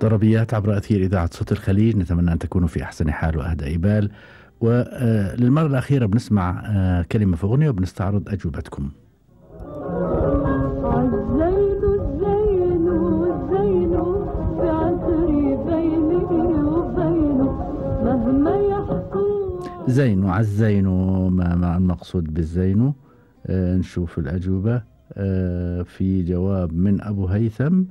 طربيات عبر أثير إذاعة صوت الخليج، نتمنى أن تكونوا في أحسن حال وأهدى بال. وللمرة الأخيرة بنسمع كلمة في أغنية وبنستعرض أجوبتكم. زين عالزين، ما المقصود بالزين؟ نشوف الأجوبة. في جواب من أبو هيثم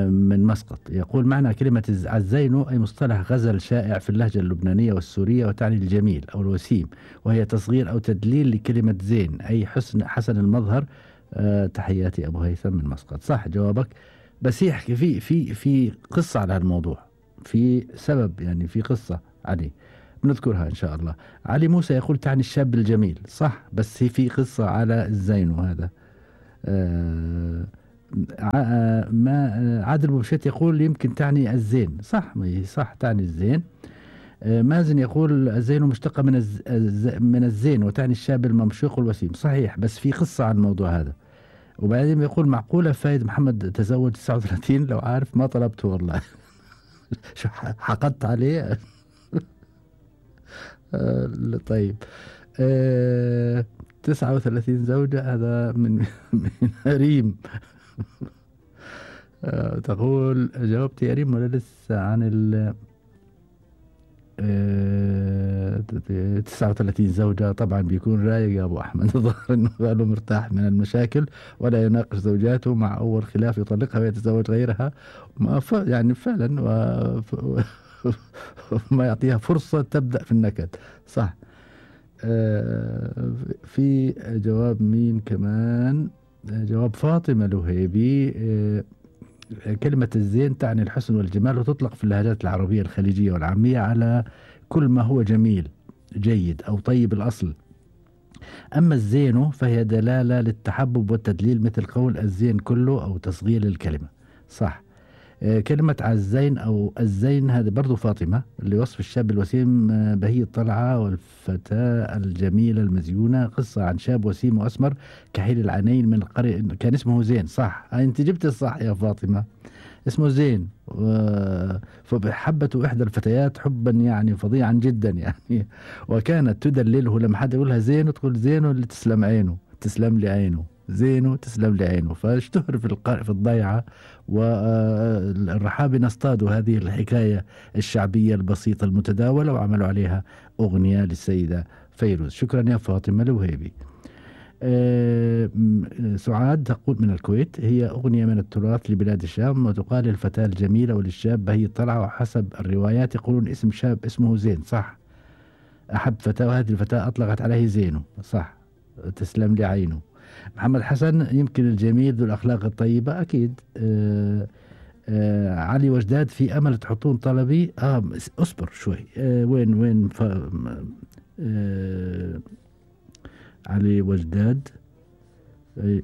من مسقط، يقول معنى كلمة عالزين أي مصطلح غزل شائع في اللهجة اللبنانية والسورية، وتعني الجميل أو الوسيم، وهي تصغير أو تدليل لكلمة زين أي حسن المظهر. تحياتي أبو هيثم من مسقط. صح جوابك، بس يحكي في قصة على الموضوع، في سبب، يعني في قصة عليه بنذكرها إن شاء الله. علي موسى يقول تعني الشاب الجميل. صح، بس في قصة على الزين، وهذا عادل بوشيت يقول يمكن تعني الزين. صح، صح تعني الزين. مازن يقول الزين مشتقة من الزين وتعني الشاب الممشوق والوسيم. صحيح، بس في قصة عن الموضوع هذا. وبعدين يقول معقولة فايد محمد تزوج 39؟ لو عارف ما طلبته والله. شو حقدت عليه. طيب 39 زوجة، هذا من ريم. تقول جاوبت يا ريم ولا لسه عن 39 زوجة؟ طبعا بيكون رايق يا أبو أحمد. ظهر أنه قالوا مرتاح من المشاكل ولا يناقش زوجاته، مع أول خلاف يطلقها ويتزوج غيرها. يعني فعلا ما يعطيها فرصة تبدأ في النكد. صح. في جواب مين كمان؟ جواب فاطمة الوهيبي. كلمة الزين تعني الحسن والجمال، وتطلق في اللهجات العربية الخليجية والعامية على كل ما هو جميل جيد أو طيب الأصل. أما الزين فهي دلالة للتحبب والتدليل، مثل قول الزين كله أو تصغير الكلمة. صح. كلمة عالزين أو الزين هذا برضو فاطمة لوصف الشاب الوسيم بهي الطلعة والفتاة الجميلة المزيونة. قصة عن شاب وسيم وأسمر كحيل العينين من القرية، كان اسمه زين. صح، أنت جبت الصح يا فاطمة، اسمه زين. فحبته إحدى الفتيات حبا يعني فظيعا جدا يعني، وكانت تدلله لما حد يقولها زين وتقول زينه اللي تسلم عينه، تسلم لي عينه، زينه تسلم لي عينه. فاشتهر في الضيعة، والرحابنة اصطادوا هذه الحكاية الشعبية البسيطة المتداولة وعملوا عليها أغنية للسيدة فيروز. شكرا يا فاطمة الوهيبي. سعاد تقول من الكويت هي أغنية من التراث لبلاد الشام، وتقال للفتاة الجميلة وللشاب بهي الطلعة، وحسب الروايات يقولون اسم شاب اسمه زين. صح، أحب فتاة وهذه الفتاة أطلقت عليه زينه. صح، تسلم لي عينه. محمد حسن يمكن الجميل ذو الأخلاق الطيبة، أكيد. علي وجداد في أمل تحطون طلبي. أصبر شوي. وين علي وجداد،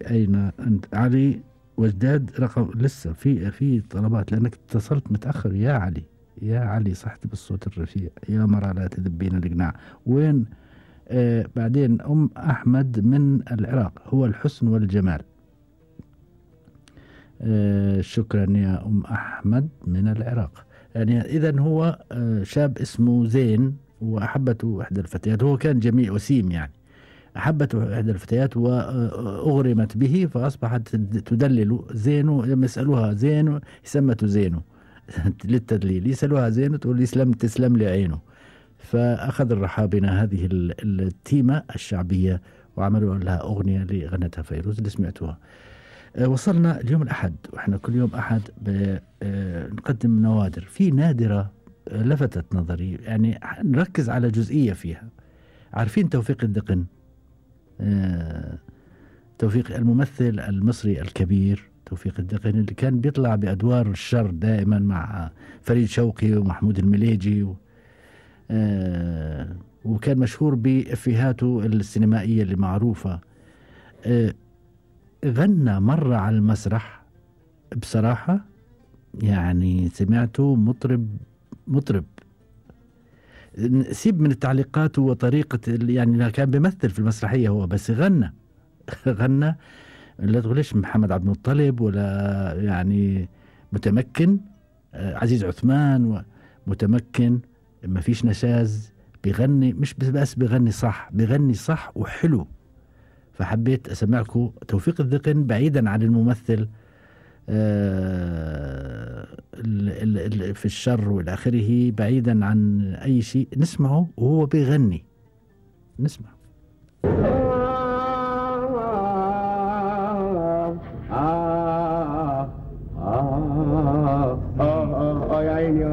أين أنت علي وجداد؟ رقم لسه في طلبات لأنك اتصلت متأخر يا علي. يا علي صحت بالصوت الرفيع، يا مرة لا تذبين القناع. وين بعدين أم أحمد من العراق، هو الحسن والجمال. شكرا يا أم أحمد من العراق. يعني إذن هو شاب اسمه زين وأحبته إحدى الفتيات، هو كان جميل وسيم يعني، أحبته إحدى الفتيات وأغرمت به، فأصبحت تدلل زينو. لما يسألوها زينو يسمته زينو للتدليل، يسألوها زينو تقول تسلم لي عينه. فأخذ الرحابنة هذه التيمة الشعبية وعملوا لها أغنية لغنتها فيروز اللي سمعتوها. وصلنا اليوم الأحد، وإحنا كل يوم أحد نقدم نوادر. في نادرة لفتت نظري، يعني نركز على جزئية فيها. عارفين توفيق الدقن؟ توفيق الممثل المصري الكبير توفيق الدقن، اللي كان بيطلع بأدوار الشر دائما مع فريد شوقي ومحمود المليجي وكان مشهور بإفيهاته السينمائية اللي معروفة. غنى مرة على المسرح بصراحة، يعني سمعته مطرب. سيب من التعليقات وطريقة، يعني كان بيمثل في المسرحية هو، بس غنى غنى. لا تقوليش محمد عبد المطلب ولا يعني متمكن، عزيز عثمان ومتمكن، ما فيش نشاز، بيغني مش بس بيغني صح، بيغني صح وحلو. فحبيت أسمعكم توفيق الذقن بعيدا عن الممثل في الشر والآخره، بعيدا عن أي شيء، نسمعه وهو بيغني، نسمع. يا عيني